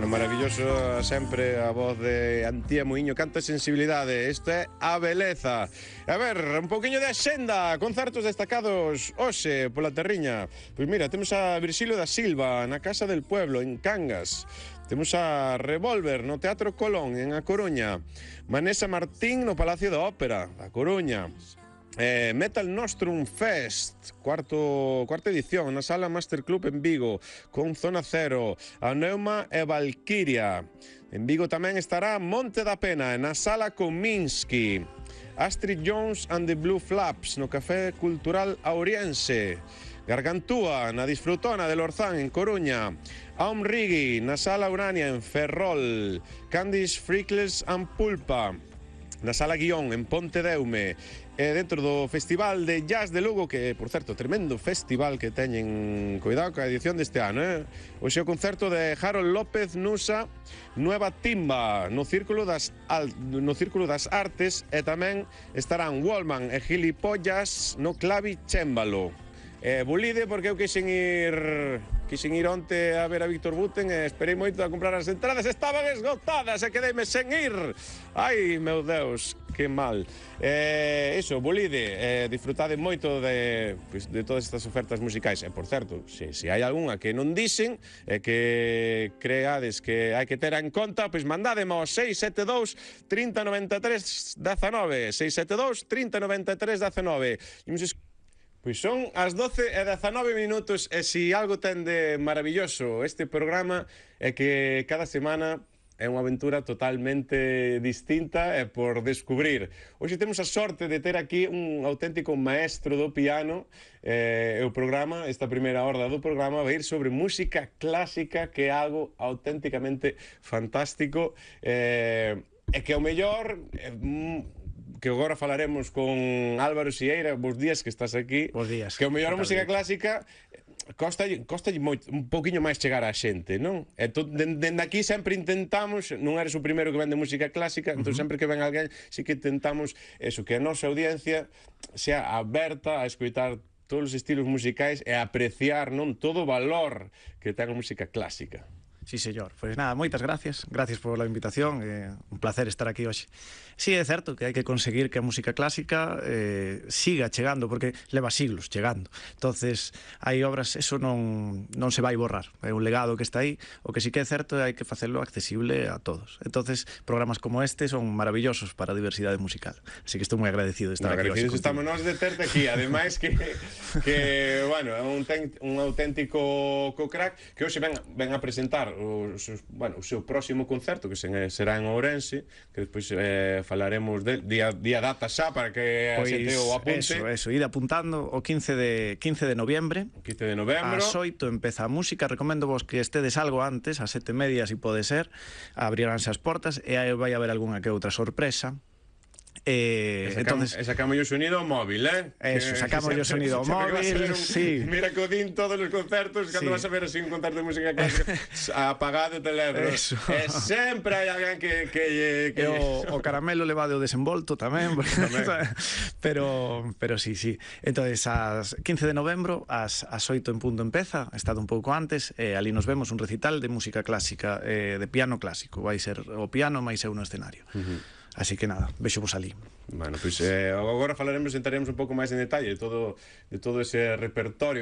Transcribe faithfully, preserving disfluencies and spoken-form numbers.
Bueno, maravilloso sempre a voz de Antía Muiño, canta sensibilidade. Isto é A Beleza. A ver, un poquinho de axenda, concertos destacados hoxe pola Terriña. Pois mira, temos a Virxilio da Silva na Casa del Pueblo, en Cangas. Temos a Revolver no Teatro Colón, en A Coruña. Vanessa Martín no Palacio da Ópera, a Coruña. Eh, Metal Nostrum Fest, cuarto, cuarta edición, na Sala Master Club en Vigo, con Zona Cero, a Neuma e Valkyria. En Vigo tamén estará Monte da Pena, na Sala Kominsky. Astrid Jones and the Blue Flaps, no Café Cultural Auriense. Gargantúa, na Disfrutona de Lorzán, en Coruña. Aum Rigi, na Sala Urania, en Ferrol. Candice Freckles and Pulpa, na Sala Guión, en Pontedeume. E dentro do Festival de Jazz de Lugo, que, por certo, tremendo festival que teñen, cuidado ca edición deste ano, eh? Hoxe o concerto de Harold López Nusa, Nueva Timba, no Círculo das, Al, no Círculo das Artes, e tamén estarán Wallman e Gilipollas no Clavi Chémbalo. Eh, Bulide, porque eu quixen ir quixen ir onte a ver a Víctor Buten e esperei moito a comprar as entradas, estaban esgotadas e quedeime sen ir. Ai, meu Deus, que mal. Eh, iso, Bulide, eh, disfrutade moito de, pues, de todas estas ofertas musicais. E, por certo, se, se hai algunha que non dixen e que creades que hai que ter en conta, pois mandádemo ao seis sete dous, trinta, noventa e tres, dezenove, seis sete dous, trinta, noventa e tres, dezenove. Imos Pois son as doce e dezanove minutos e si algo ten de maravilloso este programa é que cada semana é unha aventura totalmente distinta e por descubrir. Hoxe temos a sorte de ter aquí un auténtico maestro do piano e o programa, esta primeira horda do programa vai ir sobre música clásica, que é algo auténticamente fantástico e, e que ao mellor que agora falaremos con Álvaro Sieira. Bos días que estás aquí. Bos días. Que o mellor a música clásica costa, costa moito, un poquinho máis chegar á xente, non? E to, dende aquí sempre intentamos, non eres o primeiro que vende música clásica, uh -huh. entón sempre que ven alguén, sí que intentamos eso, que a nosa audiencia sea aberta a escoitar todos os estilos musicais e a apreciar, non, todo o valor que ten a música clásica. Sí, señor. Pois nada, moitas gracias. Gracias pola invitación. É un placer estar aquí hoxe. Sí, é certo que hai que conseguir que a música clásica eh, siga chegando, porque leva siglos chegando. Entonces, hai obras, eso non, non se vai borrar. É un legado que está aí. O que sí que é certo é hai que facelo accesible a todos. Entonces, programas como este son maravillosos para a diversidade musical. Así que estou moi agradecido de estar aquí hoxe. Agradecidos estamos nós de terte aquí. Ademais que, que bueno, é un, ten, un auténtico co-crack que hoxe ven, ven a presentar O, bueno, o seu próximo concerto, que será en Ourense, que despois eh, falaremos del día, día data xa para que pois, a xente o apunte. Eso, eso, ide apuntando o quince de noviembre. quince de novembro. Ás oito empeza a música. Recomendo vos que estedes algo antes, ás sete e media, se si pode ser. Abriránse as portas e aí vai haber algunha que outra sorpresa. Eh, e sacamos, entonces, sacamos o sonido móvil, eh? Eso, sacamos o sonido móvil, sí. Mira que o din todos os concertos, cando sí. vas a ver así un concerto de música clásica, apagado o teléfono. Eso. E sempre hai alguén que... que, que... E o, o caramelo levado o desenvolto tamén, tamén. pero, pero sí, sí. Entonces, ás quince de novembro, ás, ás oito en punto empeza, estado un pouco antes, e ali nos vemos un recital de música clásica, eh, de piano clásico. Vai ser o piano máis eu no escenario. Uh -huh. Así que nada, vexo vos ali. Bueno, pois pues, eh, agora falaremos, entraremos un pouco máis en detalle de todo, de todo ese repertorio